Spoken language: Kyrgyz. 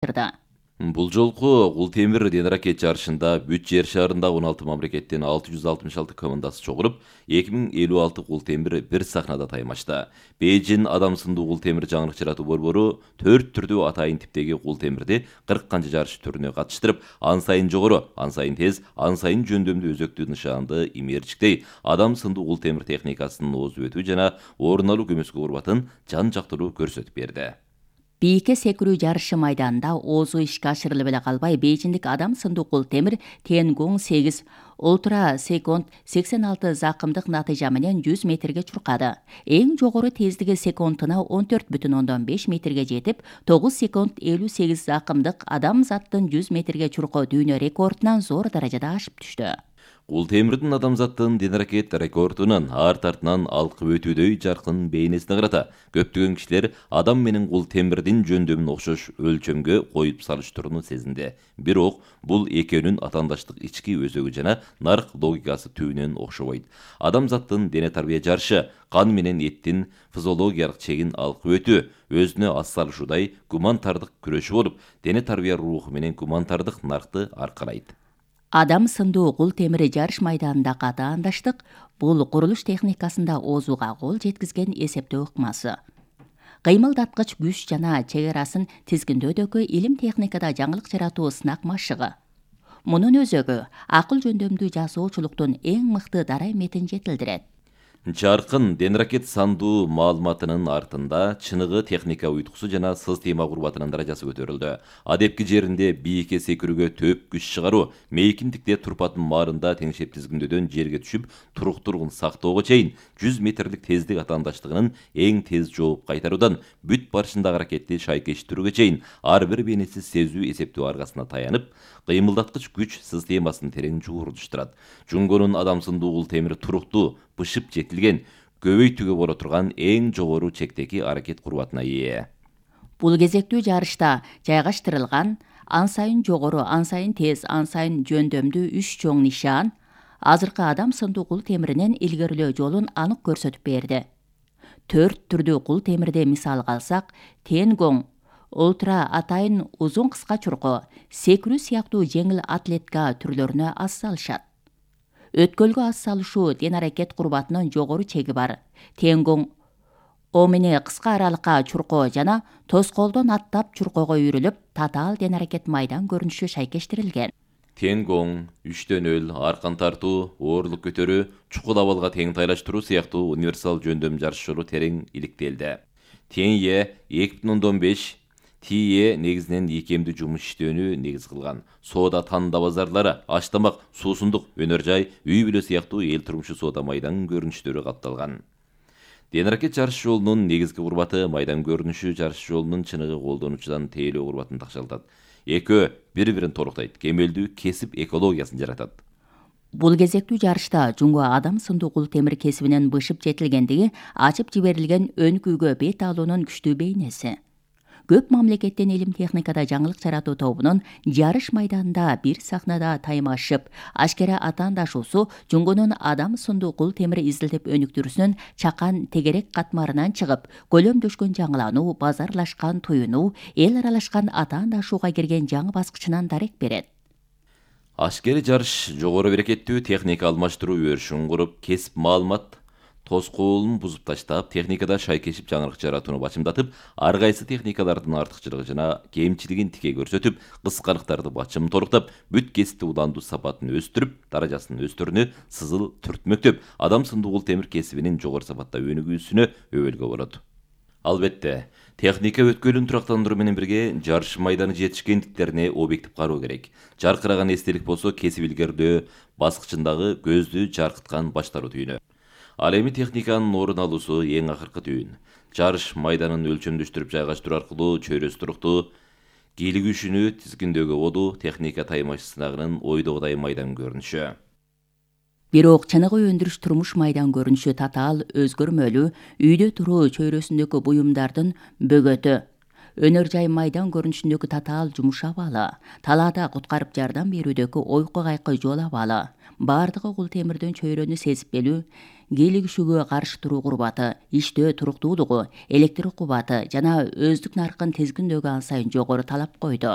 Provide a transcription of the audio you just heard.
Бул жолку кул темир денракет жарышында бүт жер шаарында 16 мамлекеттен 666 командасы чогулуп, 2056 кул темир бир сахнада таймашты. Бейжин адам сындуу кул темир жаңырыкчыратуу борбору 4 түрдүү атайын типтеги кул темирди 40 канча жарыш түрүнө катыштырып, ан сайын жогору, ан сайын тез, ан сайын жөндөмдүү өзөктүү нышанды имээрчиктей адам сындуу кул темир техникасынын озуп өтүү жана орун алуу көмөскө урбатын жан жактыруу көрсөтүп берди. Бийикке секирүү жарышы майданында оозу ишке ашырылып эле калбай, бейжиндик адам сындуу кул темир Тенгон 8 ультра секунд 86 закымдык натыйжа менен 100 метрге чуркады. Эң жогору тездиги секундуна 14,5 метрге жетип, 9 секунд 58 закымдык адам заттын 100 метрге чуркоо дүйнө рекордунан зор даражада ашып түштү. Кул темирдин адамзаттын денракет рекордунун арт артынан алкып өтүүдөй жаркын бейнесине карата көптөгөн кишилер адам менен кул темирдин жөндөмүн окшош өлчөмгө коюп салыштырууну сезинди. Бирок бул экөөнүн атаандаштык ички өзөгү жана нарк логикасы түбүнөн окшобойт. Адамзаттын дене тарбия жарышы кан менен эттин физиологиялык чегин алкып өтүү өзүнө ас салышуудай гуманитардык күрөшү болуп, дене тарбия руху менен гуманитардык наркты аркалайт. Адам сындуу кул темири жарыш майданындагы атаандаштык бул курулуш техникасында оозууга кол жеткизген эсептөө ыкмасы. Кыймылдаткыч күч жана чек арасын тизгиндөөдөгү илим техникада жаңылык жаратуу сынак машыгы. Мунун өзөгү акыл жөндөмдүү жасоочулуктун эң мыкты дарай метин жетилдирет. Жаркын денракет сандуу маалыматынын артында чыныгы техника уйткусу жана система курбатынын даражасы көтөрүлдү. Адепки жеринде бийикке секирүүгө төп күч чыгаруу, мейкиндикте турпатын маарында теңшеп тизгиндөөдөн жерге түшүп туруктуулугун сактоого чейин 100 метрлик тездик атаандаштыгынын эң тез жооп кайтаруудан бүт барышындагы аракетти шайкештирүүгө чейин ар бир бенеси сезүү эсептөө аргасына таянып, кыймылдаткыч күч системасын терең жуурулуштурат. Жунгонун адам сындуу кул темир туруктуу, бышып жетилген, көбөйтүүгө боло турган эң жогору чектеги аракет курбатына ээ. Бул кезектүү жарышта жайгаштырылган ан сайын жогору, ан сайын тез, ан сайын жөндөмдүү 3 чоң нишан азыркы адам сындуу кул темиринин илгерилөө жолун анык көрсөтүп берди. 4 түрдүү кул темирди мисалга алсак, Тенгон ультра атайын узун кыска чуркоо, секирүү сыяктуу жеңил атлетика түрлөрүнө ас салышат. Өткөлгө ас салышуу ден аракет курбатынын жогору чеги бар. Тенгон омени кыска аралыкка чуркоо жана тоскоолдон аттап чуркоого үйрүлүп, татаал ден аракет майдан көрүнүшү шайкештирилген. Тенгон, үчтөнөл, аркан тартуу, оорлук көтөрүү, чукул абалга тең тайлаштыруу сыяктуу универсал жөндөм жарышчылары терең иликтелди. Тенье 2,5 Тие негизинен икемдүү жумуш иштөөнү негиз кылган. Соода танда базарлары, аш-тамак, суусундук, өнөр жай, үй бүлө сыяктуу эл турмушу соода майдан көрүнүштөрү катталган. Денракет жарыш жолунун негизги курбаты майдан көрүнүшү жарыш жолунун чыныгы колдонуучудан тейлөө курбатын такшалтат. Экөө бири-бирин толуктайт, кемелдүү кесип экологиясын жаратат. Бул кезектүү жарышта жунго адам сындуу кул темир кесибинин бышып жетилгендиги ачып жиберилген өнүкүүгө бет алуунун күчтүү бейнеси. Көп мамлекеттен илим техникада жаңылык жаратуу тобунун жарыш майданында бир сахнада таймашып, ашкера атаандашуусу жунгонун адам сындуу кул темир изилдеп өнүктүрүүсүнүн чакан тегерек катмарынан чыгып, көлөмдөшкөн жаңылануу, базарлашкан туюнуу, эл аралашкан атаандашууга кирген жаңы баскычынан дарек берет. Ашкери жарыш жогору берекеттүү техника алмаштыруу өрүшүн куруп, кесип маалымат тоскоолун бузуп таштап, техникада шайкешип жаңырык жаратууну бачымдатып, ар кайсы техникалардын артыкчылыгы жана кемчилигин тике көрсөтүп, кыскалыктарды бачым торуктап, бүт кесипти уландуу сапатын өстүрүп, даражасын өстөрүнө сызыл түртмөктөп, адам сындуу кул темир кесибинин жогору сапатта өнүгүүсүнө өбөлгө болот. Албетте, техника өткөлүн турактандыруу менен бирге жарыш майданы жетишкендиктерине объектив кароо керек. Жаркыраган эстелик болсо кесип илгерилөө баскычындагы көздү жаркыткан баштаруу түйүнү. Ал эми техниканын орун алуусу эң акыркы түйүн. Жарыш майданын өлчөмдөштүрүп жайгаштыруу аркылуу чөйрөсү туруктуу, кийлик күчүнү тизгиндөөгө болуу техника таймаш сынагынын ойдогудай майдан көрүнүшү. Бирок чыныгы өндүрүш турмуш майдан көрүнүшү татаал өзгөрмөлүү, үйдө туруу чөйрөсүндөгү буюмдардын бөгөтү, өнөр жай майдан көрүнүшүндөгү татаал жумуш абалы, талаада куткарып жардам берүүдөгү ойку кайкы жол абалы, баардыгы кул темирден чөйрөнү сезип келүү, кийлигишүүгө каршы туруу курбаты, иштөө туруктуулугу, электр кубаты жана өздүк наркын тизгиндөөгө ан сайын жогору талап койду.